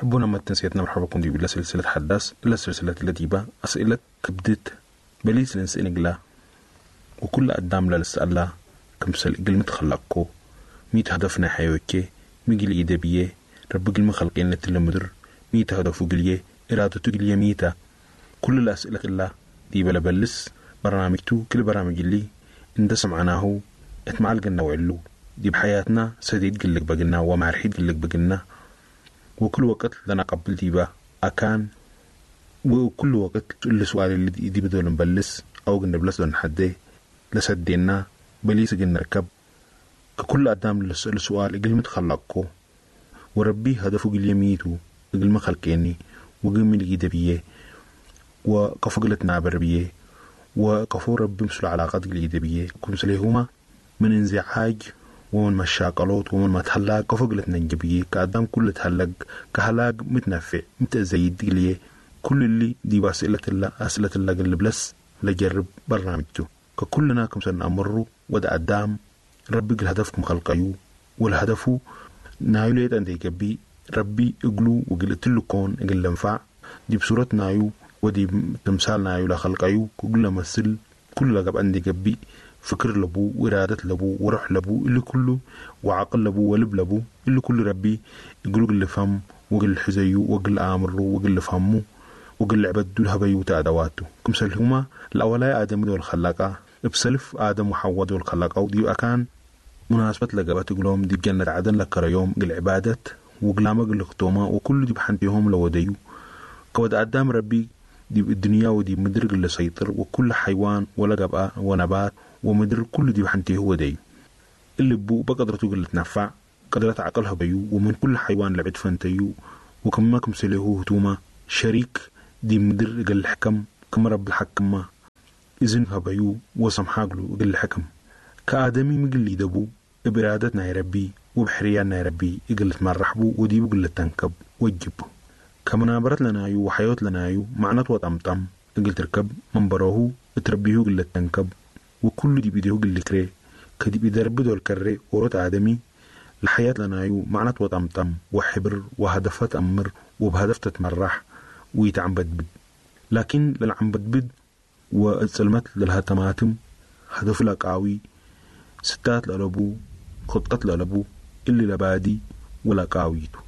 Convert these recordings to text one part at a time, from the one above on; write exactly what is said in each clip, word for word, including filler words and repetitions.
حبونا ما تنسيتنا مرحبا بكم دي بلا سلسلة حداث إلا سلسلة التي با أسئلة كبدت بليس لنسئنقلا وكل قدام للسألة كمسل إقل متخلقكو ميت هدفنا حيوكي ميجل إيدابية رب قل مخلقين المدر ميت هدفو قليه إرادته قليه ميتا. كل الأسئلة الله دي بلا بلس برنامجتو كل برامج اللي انت سمعناه اتمعلقنا وعلو دي بحياتنا سديد قلك بقلنا ومعرحيد قلك بقلنا وكل وقت لنا قبل ديبا أكان وكل وقت اللي سؤال اللي دي بدون نبلس أو قلنا بلس دون حدي لسدينا بليس قلنا ركب ككل أدام لسؤال سؤال قل متخلقكو وربي هدفه قل يميتو قل ما خلقيني وقل من بيه وقفو قلت نابر بيه وقفو ربي مسل علاقات قل بيه كمسليهما من انزعاج ومن مشاقلوت ومن ما تهلاق قفو قلت ننجبيه كأدام كل تهلق كهلاق متنفع متزايد قليه كل اللي دي بأسئلة الله أسئلة الله قل بلس لجرب برنامجته ككلنا كم سنة أمروا ود أدام ربي قل هدفكم خلقيو والهدفو نايو ليت أنت يكبي ربي اقلو وقل تلو كون اقل لنفع دي بصورة نايو ودي تمثال نايو لخلقيو كل مثل كل لقب عندي كبي فكر لبو وإرادة لبو وروح لبو اللي كله وعقل لبو ولب لبو اللي كله ربي يقولوا قل فهم وقل حزيو وقل آمرو وقل فهمو وقل عبدو الهبيو تأدواته كمسلهما الأولاء آدم دول خلاقة بسلف آدم وحواء دول خلاقة ودي أكان مناسبة لقبات قلوم دي بجنة عدن لكر يوم قل عبادة وقلامة قل ختومة وكل دي بحنتيهم لوديو كود أدام ربي دي الدنيا ودي مدر قل سيطر وكل حيوان ولا قبقى ونبات ومدر كل دي بحنتيه ودي اللي بو بقدرته قل تنفع قدرت عقلها بيو ومن كل حيوان لعد فانتيو وكما كمسليه هتوما شريك دي مدر قل الحكم كم رب الحكم إذن هبيو وسمحاقلو قل الحكم كآدمي مقل دبو إبرادتنا يا ربي وبحرياننا يا ربي إقل تمرحبو ودي بقل تنكب وجب كمنابرت لنا يو وحيوت لنا يو معنات وطمطم إقل تركب منبروه تربيه قل تنكب وكل دي بيديه قل كري كدي بيدرب دول كري ورد آدمي الحياة لنا يو معنات وطمطم وحبر وهدفات أمر وبهدف تتمرح ويتعم بدبد لكن للعم بدبد والسلمات لها تماتم هدف لقاوي ستات لألبو خطة لألبو اللي لبادي ولا قاويتو.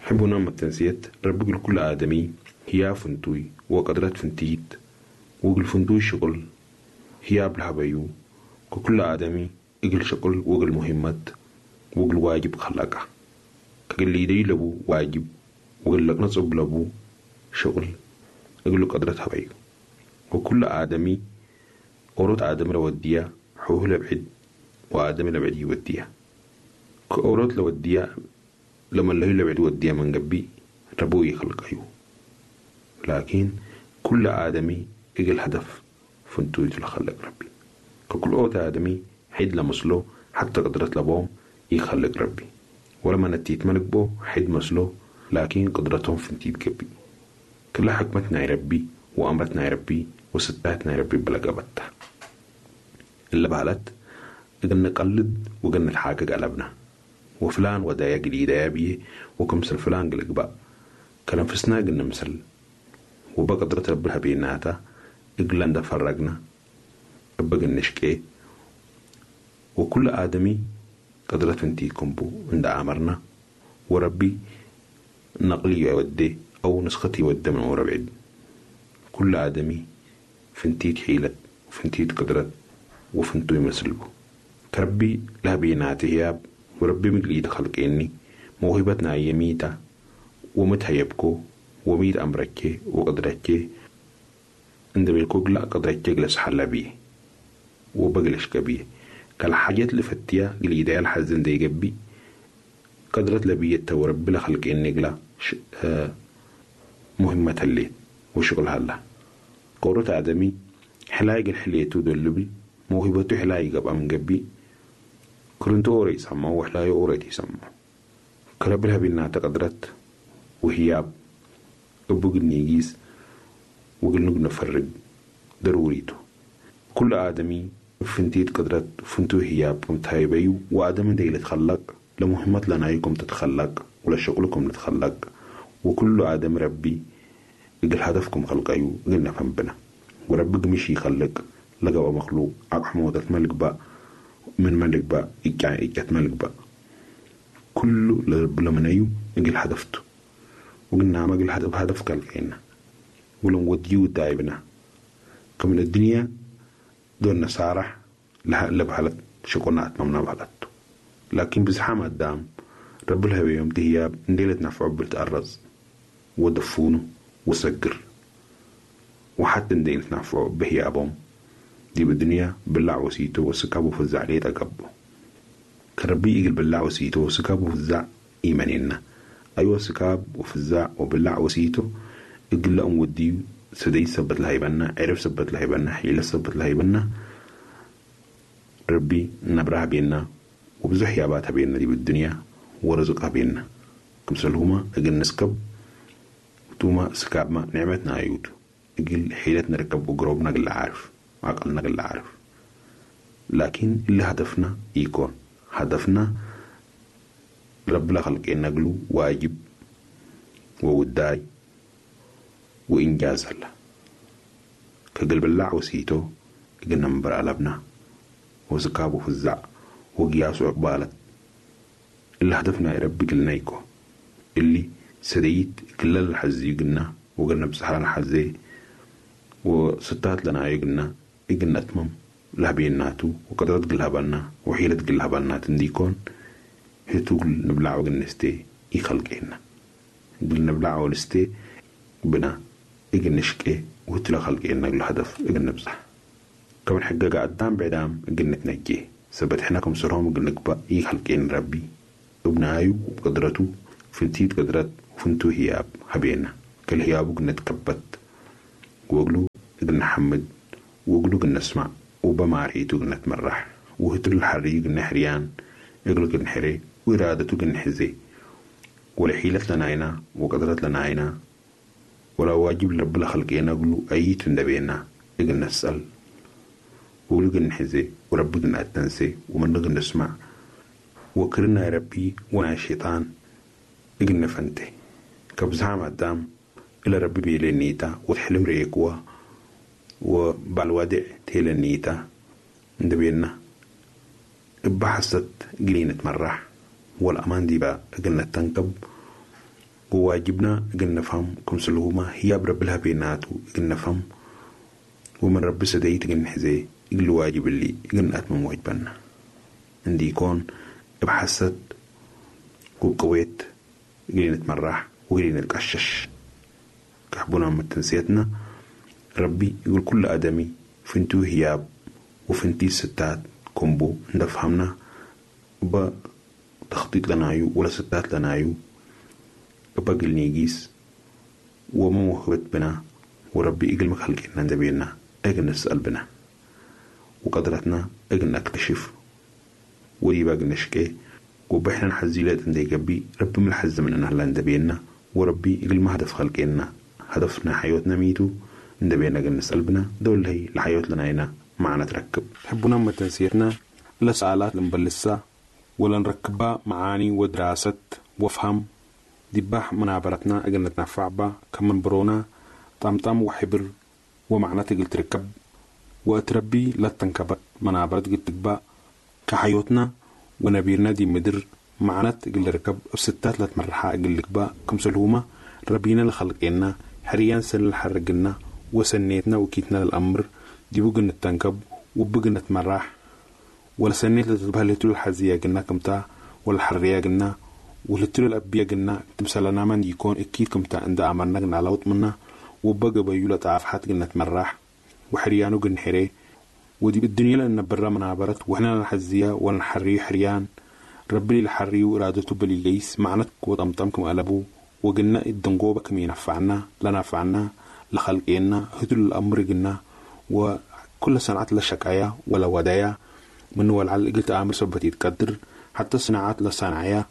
حبونا ما التنسيت ربي كل آدمي هي فنتوي وقدرت فنتيت وقل فنتوي شغل هي بالحبيو ككل آدمي إقل شغل وقل مهمت وقل واجب خلاقه كقل يدي لبو واجب وقل لك نصب لبو شغل إقل قدرت هبيو وكل آدمي أورد آدم لوديا حوه لبعد وآدم لبعد يوديا كأورد لوديا لما اللي لبعد وديا من قبي ربو يخلق أيو لكن كل آدمي إقل هدف فنتو يتلخلق ربي ككل أوت آدمي حيد لمسلو حتى قدرت لبوم يخلق ربي ولما نتيت ملك بو حيد مسلو لكن قدرتهم فنتيت قبي كل حكمتنا يا ربي وأمرتنا يا ربي وستاتنا يا ربي بلقبتها اللي بعلت قلنا نقلد وقلنا الحاجة قلبنا وفلان ودايا قليدا يا بيه وكمسل فلان قلق بقى كلام فسنا قلنا مسل وبقدرة ربها بيناتا إقلان دا فرقنا بقى نشكي وكل آدمي قدرة فنتيكم بو عند أمرنا وربي نقلي يودي أو نسختي يودي من ورا بعيد كل آدمي فنتيت حيلة وفنتيت قدرت وفنتو يمسلبو كربي لا بيناتي هياب وربي مقليد خلقيني موهبتنا يميتا ومتهيبكو وميت أمركي وقدرتي عند بالكوك لا قدرتي جلس حلا بيه وبجلش كبيه كالحاجات اللي فتيا قليدا الحزن دي جبي قدرت لبيتا وربي لخلقيني قلا آه مهمة الليل وشغلها الله قورة آدمي حلايق الحليتو دولبي موهبته حلايق أبقى من جبي كرنتو أوري يسمى وحلايق أوري يسمى كربلها بينا تقدرت وهياب أبوك النيجيس وقل نفرق ضروريتو كل آدمي فنتيت قدرت فنتو هياب كم تايبيو وآدم ديل تخلق لمهمة لنا يكم تتخلق ولا شغلكم نتخلق وكل آدم ربي إقل هدفكم خلقيو إقل نفهم بنا وربك مش يخلق لقوا مخلوق أقحموتة ملك با من ملك با إجا إجت ملك با كله لرب لمنيو إقل هدفته وقلنا ما قل هدف هدف خلقينا ولو وديو دايبنا كمن الدنيا دون نصارح لها لبحلت شكونا أتممنا بحلته لكن بزحام قدام رب الهبي يوم تهياب نديلة نفعه بالتأرز ودفونه وسجر وحتى نديلة نفعه بهيابهم دي بالدنيا بلع وسيته وسكابه فزع عليه تقبه كربي إجل بلع وسيته وسكابه فزع إيماننا أيوة سكاب وفزع وبلع وسيته إجل لأم وديو سدي سبت لهيبنا عرف سبت لهيبنا حيلة سبت لهيبنا ربي نبرها بينا وبزح ياباتها بينا دي بالدنيا ورزقها بينا كمسلهما أجل نسكب توما سكاب ما نعمتنا عيوت أجل حيلتنا نركب وقروبنا أجل عارف عقلنا أجل عارف لكن اللي هدفنا يكون هدفنا رب خلق نقلو واجب ووداي وإنجاز الله كقلب الله وسيتو أجل نمبر قلبنا وسكابه فزع وقياس عقبالت اللي هدفنا يا ربي قلنا يكو اللي سديت كل الحزي قلنا وقلنا بسحران حزي وستات لنا يقلنا يقلنا أتمم لها بيناتو وقدرت قلها بالنا وحيلة قلها بالنا تنديكون هتو نبلع وقلنا نستي يخلقنا قلنا نبلع ونستي بنا إجن نشكي وهتلا خلقنا قل هدف إجن نبزح كمان حقا قدام بعدام إجن نتنجيه سبت حنا كم سرهم إجن نقبأ يخلقنا ربي ابنايو وبقدرته فنتيت قدرت وفنتو هياب هبينا كل هيابو قلنا تكبت وقلو قلنا حمد وقلو قلنا اسمع وبماريتو قلنا تمرح وهتل الحري قلنا حريان يقلو قلنا حري وإرادته قلنا حزي ولا لنا عينا وقدرت لنا عينا ولا واجب لرب الخلقين قلو أي تندبينا قلنا نسأل وقلو قلنا حزي ورب قلنا أتنسي ومن قلنا نسمع وكرنا يا ربي وانا الشيطان إجنا فانتي كبزعم قدام إلى ربي بيلي نيتا وتحلم ريكوا وبالوادع تيل النيتا ندبينا بحثت جلينة مرح والأمان دي بقى قلنا تنكب وواجبنا قلنا نفهم كم سلوما هي برب لها بيناتو قلنا نفهم ومن رب سديت قلنا حزي قل واجب اللي قلنا أتمم واجبنا عندي يكون بحثت وبقويت قلنا نتمرح وقلنا نتقشش كحبونا من تنسيتنا ربي يقول كل آدمي فنتو هياب وفنتي ستات كومبو ندفهمنا بتخطيط لنايو ولا ستات لنايو بقل نيجيس وما موهبت بنا وربي إجل مخلقنا ندبينا أجل نسأل بنا وقدرتنا أجل نكتشف ودي باقي نشكي وبحنا نحزيلات عندي جبي ربي من الحز من أنها ندبينا وربي إجل ما هدف خلقنا هدفنا حياتنا ميتو ندبينا أجل نسأل بنا دول هي لحياة لنا هنا معنا تركب تحبونا ما تنسيرنا لا سؤالات لنبلسها ولا نركبها معاني ودراسة وفهم دباح منابرتنا أجل نتنفع با كمن برونا طمطم وحبر ومعنى تقل تركب وأتربي لا تنكبت منابرت قل تقبا كحيوتنا ونبيرنا دي مدر معنى تقل ركب بستات لا تمرحا أجل لكبا كم سلهوما ربينا لخلقنا حريان سن الحرقنا وسنيتنا وكيتنا للأمر دي بقنا التنكب وبقنا تمرح ولا سنيت لتبهلتو الحزية قلنا كمتا ولا الحرية قلنا ولتلو الأبية قلنا تمثلنا من يكون أكيد كمتا عند أمرنا قلنا لوط منا وبقى بيولة تعافحات قلنا تمرح وحريانو قلنا حري ودي بالدنيا لأن برا من عبرت وحنا الحزية ولا الحري حريان ربي الحري وإرادته بليليس معنتك وطمطمكم قلبو وقلنا الدنقوبة كم ينفعنا لا نفعنا لخلقنا هدل الأمر قلنا وكل صنعات لا شكاية ولا ودايا من والعل قلت أمر سبت يتقدر حتى صناعات لا صنعية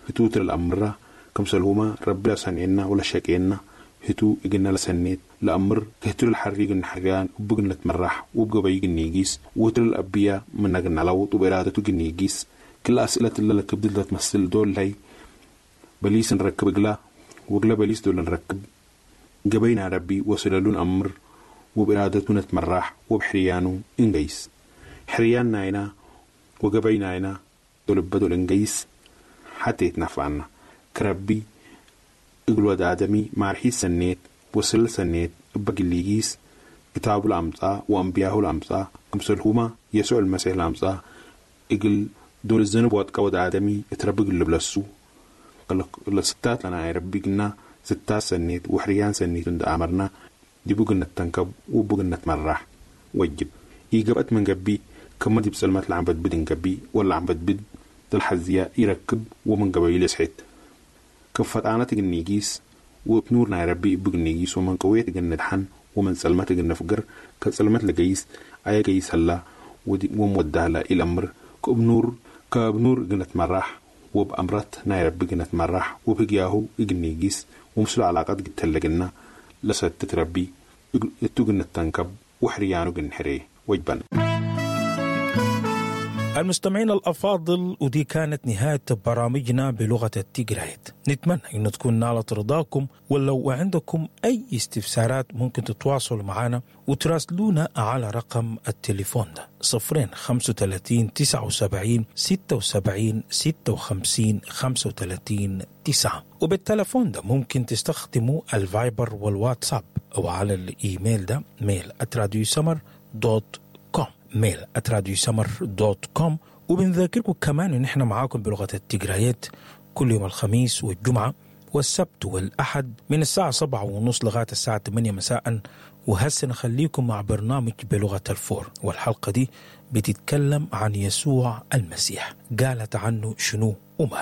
هتوتر الأمر كم سلهما ربي لا صنعنا ولا شكينا هتو إجنا لسنيت لأمر كهتر الحريق الحريان وبقنا نتمرح وبقى بيجي نيجيس وتر الأبية من نجنا لوط وبإرادته نيجيس كل أسئلة اللي لك بدل تمثل دول هي بليس نركب إقلا وقلا بليس دول نركب قبينا ربي وسلالون أمر وبإرادته نتمرح وبحريانو إنجيس حريان ناينا وقبي ناينا دول بدول إنجيس حتى يتنفعنا كربي إقلو آدمي مارحي سنيت وسل سنيت بقليجيس كتاب الأمطاء وأنبياء الأمطاء أمثلهما يسوع المسيح الأمطاء إقل دول الذنب واتقود آدمي اتربق اللي بلسو لستات لنا ربي قلنا ستات سنيت وحريان سنيت عند أمرنا دي بقنا تنكب وبقنا تمرح وجب إيجابت من قبي كما دي بسلمات العم بدبد قبي ولا عم بدبد الحزية يركب ومن قبيل يسحت كفت أنا تجنيجيس وبنورنا ربي بجنيجيس ومن قوية تجندحن ومن سلمة تجنفجر كسلمة لجيس أي جيس هلا ومودها لا إلى أمر كبنور كبنور جنت مرح وبأمرت نايرب جنت مرح وبجياهو إجنيجيس ومسل علاقات جتلجنا لست تربي التجنة تنكب وحريانو جنحري وجبن. المستمعين الأفاضل، ودي كانت نهاية برامجنا بلغة التيجرايت. نتمنى أن تكون نالت رضاكم، ولو عندكم أي استفسارات ممكن تتواصلوا معنا وتراسلونا على رقم التليفون ده صفرين خمسة وثلاثين تسعة وسبعين ستة وسبعين ستة وخمسين خمسة وثلاثين تسعة. وبالتلفون ده ممكن تستخدموا الفايبر والواتساب، أو على الإيميل ده mail at راديو سمر dot com، mail at راديو سمر dot com. وبنذاكركم كمان ان احنا معاكم بلغة التجريات كل يوم الخميس والجمعة والسبت والأحد من الساعة سبعة ونص لغاية الساعة ثمانية مساء. وهسه نخليكم مع برنامج بلغة الفور، والحلقة دي بتتكلم عن يسوع المسيح، قالت عنه شنو وما